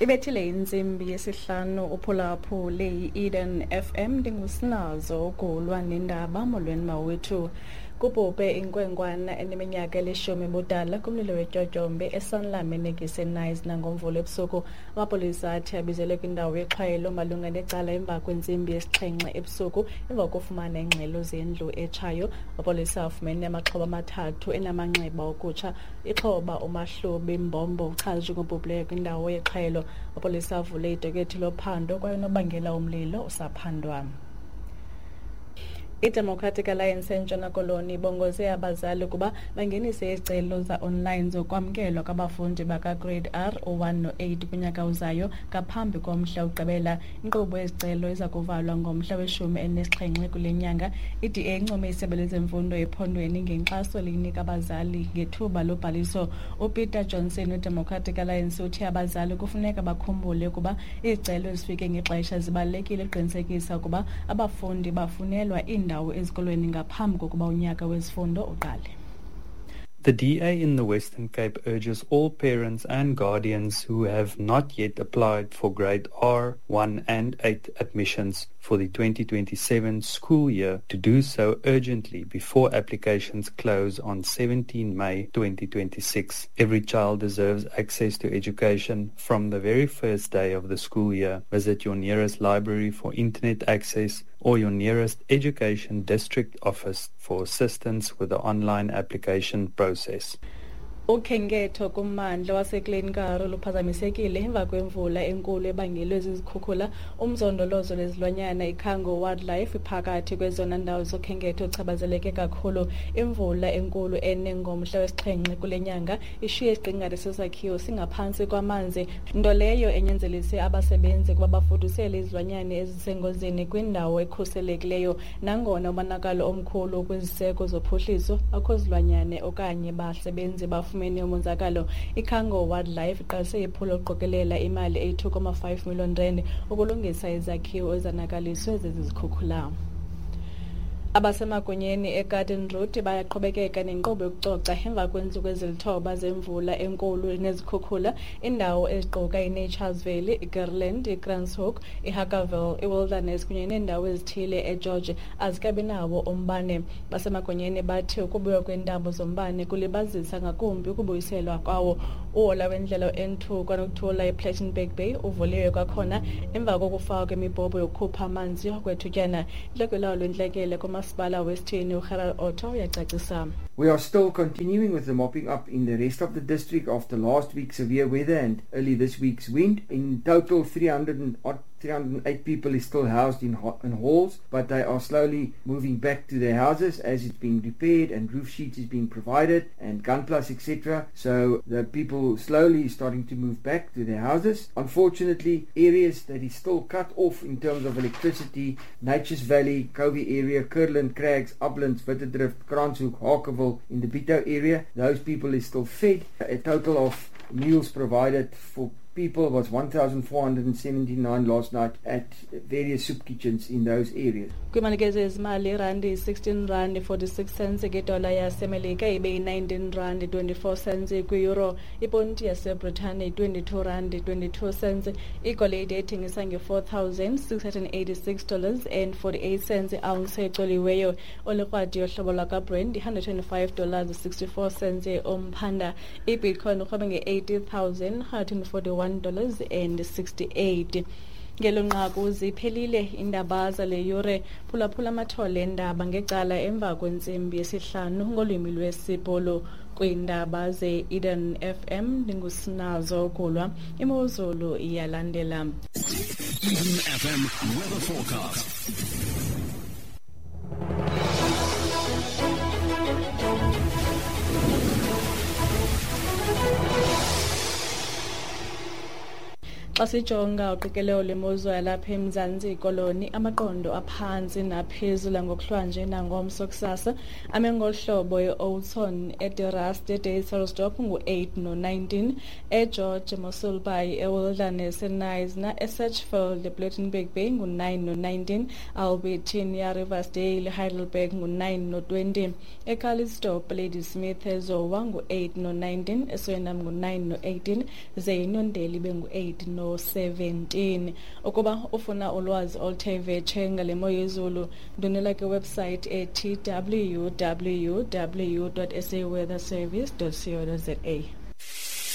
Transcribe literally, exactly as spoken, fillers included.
Ibethile intsimbi yesihlanu uphulaphule i-Eden F M ndingusinazo ukulwa nendaba. Molweni mawethu. Kubhubhe inkwenkwana eneminyaka elishumi budala kumlilo wetyotyombe eSanlam eNekisi nangomvulo ebusuku. Amapolisa athi abizelwe kwindawo yexhwayelo malunga necala emva kwentsimbi yesixhenxe ebusuku emva kokufumana iingxelo zendlu etshayo. Amapolisa afumene amaxhoba amathathu enamanxeba okutsha. Ixhoba uMahlubi Mbombo uchazwe njengobhubhileyo kwindawo yexhwayelo. Amapolisa avule idokethi lophando kwaye unobangela womlilo usaphandwa. I-Democratic Alliance eNtshona Koloni ibongoze abazali ukuba bangenise izicelo za-online zokwamkelwa kwabafundi baka-Grade R u-one no-eight kunyaka ozayo ngaphambi komhla wokugqibela. Inkqubo yezicelo iza kuvalwa ngomhla weshumi elinesixhenxe kule nyanga. I-D A income isebe lezemfundo ephondweni ngenkxaso eliyinika abazali ngethuba lobhaliso. UPeter Johnson we-Democratic Alliance uthi abazali kufuneka bakhumbule ukuba izicelo ezifike ngexesha zibalulekile ukuqinisekisa ukuba abafundi bafunelwa iindawo ezikolweni ngaphambi kokuba unyaka wezifundo uqale. The D A in the Western Cape urges all parents and guardians who have not yet applied for Grade R, one and eight admissions for the twenty twenty-seven school year to do so urgently before applications close on seventeenth May twenty twenty-six. Every child deserves access to education from the very first day of the school year. Visit your nearest library for internet access or your nearest education district office for assistance with the online application process. Ukhenketho kummandla waseKlein Karoo luphazamisekile emva kwemvula enkulu ebangelwe zizikhukhula. Umzondolozo lwezilwanyana iKhango Wildlife iphakathi kwezona ndawo zokhenketho ochabazeleke kakhulu. Imvula enkulu ene ngomhla wesixhenxe kule nyanga ishiye isiqingatha sesakhiwo singaphantsi kwamanzi, nto leyo enyanzelise abasebenzi ukuba bafudusele izilwanyana ezisengozini kwindawo ekhuselekileyo. Nangona umonakalo omkhulu kwiziseko zophuhliso, akho zilwanyane okanye basebenzi bafumene umonzakalo. iKhango Wildlife iqalise iphulo lokuqokelela imali eyi-two point five million rand ukulungisa izakhiwo ezanakaliswe zezi zikhukhula. Abasemagunyeni eGarden Route bayaqhubekeka nenkqubo yokucoca emva kweentsuku ezilithoba zemvula enkulu nezikhukhula. Iindawo eziquka iNature's Valley, iGerland, iKranshoek, iHackerville, iWilderness kunye neendawo ezithile eGeorge azikabi nawo umbane. Basemagunyeni bathi ukubuya kweentambo zombane kulibazisa ngakumbi ukubuyiselwa kwawo. Uhola wendlela N two kwanokuthula ePlettenberg Bay uvuliwe kwakhona emva kokufakwa kwemibhobho yokukhupha amanzi okwethutyana. Intloko yolawulo lwentlekele kumasipala wesithini uGerald Otto uyacacisa. We are still continuing with the mopping up in the rest of the district after last week's severe weather and early this week's wind. In total, three hundred and odd three hundred and eight people is still housed in, in halls, but they are slowly moving back to their houses as it's being repaired and roof sheets is being provided and gunplus, et cetera. So the people slowly starting to move back to their houses. Unfortunately, areas that is still cut off in terms of electricity, Nature's Valley, Covey area, Kurland, Crags, Uplands, Wittedrift, Kranshoek, Harkerville, in the Bitou area, those people is still fed. A total of meals provided for people was one thousand four hundred seventy-nine last night at various soup kitchens in those areas. Kwimalikezo yezimali, irandi sixteen rand forty-six cents ngedola yaseMelika ibe yi-nineteen rand twenty-four cents kwi-euro. Iponti yaseBritane twenty-two rand twenty-two cents. Igolide ethengisa nge-four thousand six hundred eighty-six dollars and forty-eight cents i-ounce ecoliweyo. Olikrwadi yohlobo lwakwaBrent one hundred twenty-five dollars sixty-four cents umphanda. IBitcoin urhwebe nge-eighty thousand one hundred forty-one dollars and sixty-eight. Ngelo nqaku ziphelile indaba zale yure. Phulaphula amathole endaba ngecala emva kwentsimbi yesihlanu ngolwimi lwesiBhulu. Kwiindaba ze-Eden F M ndingusinazo Gulwa. Imozulu iyalandela. Eden F M weather forecast. Xa sijonga uqikelelo lwemozulu yalapha eMzantsi Koloni, amaqondo aphantsi naphezulu ngokuhlwanje nangomso kusasa ame ngolu hlobo: e-Oudtshoorn, eDe-Rust, eDuyversdorp ngu-eight no-nineteen, eGeorge, eMossel Bay, eWilderness, eKnysna, eSedgefield, ePlettenberg Bay ngu-nine no-nineteen, Albertinia, Riversdale, Heidelberg ngu-nine no-twenty, eCalitzdorp, Ladysmith, eZowa ngu-eight no-nineteen, eSwellendam ngu-nine no-eighteen, ze iNondeli ibe ngu-eight no ngo-seventeen. Ukuba ufuna ulwazi oluthe vetshe ngale mo yezulu, ndwendwela kwiwebsite ethi w w w dot s a weather service dot co dot za.